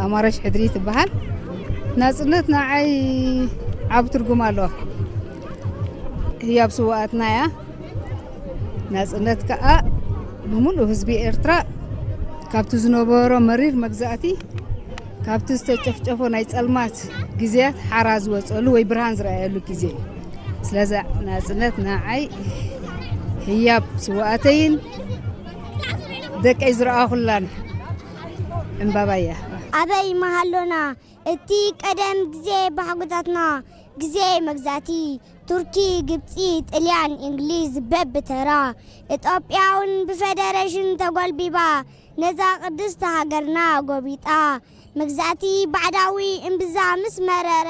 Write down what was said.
ኣማረሽ ሕድሪ ትበሃል። ናጽነት ንዓይ ዓብ ትርጉም ኣለዋ። ህያብ ስዋኣትና እያ። ናጽነት ከኣ ብምሉእ ህዝቢ ኤርትራ ካብቲ ዝነበሮ መሪር መግዛእቲ፣ ካብቲ ዝተጨፍጨፎ ናይ ጸልማት ግዜያት ሓራ ዝወጸሉ ወይ ብርሃን ዝረኣየሉ ግዜ እዩ። ስለዚ ናጽነት ንዓይ ህያብ ስዋኣተይን ደቀይ ዝረኣኹላን ዕምባባ እያ። ኣበይ መሃሎና እቲ ቀደም ግዜ ባሕጎታትና፣ ግዜ መግዛእቲ፣ ቱርኪ፣ ግብጺ፣ ጥልያን፣ እንግሊዝ በብተራ፣ ኢትዮጵያ እውን ብፈደረሽን ተጎልቢባ ነዛ ቅድስቲ ሃገርና ጎቢጣ። መግዛእቲ ባዕዳዊ እምብዛ ምስ መረረ፣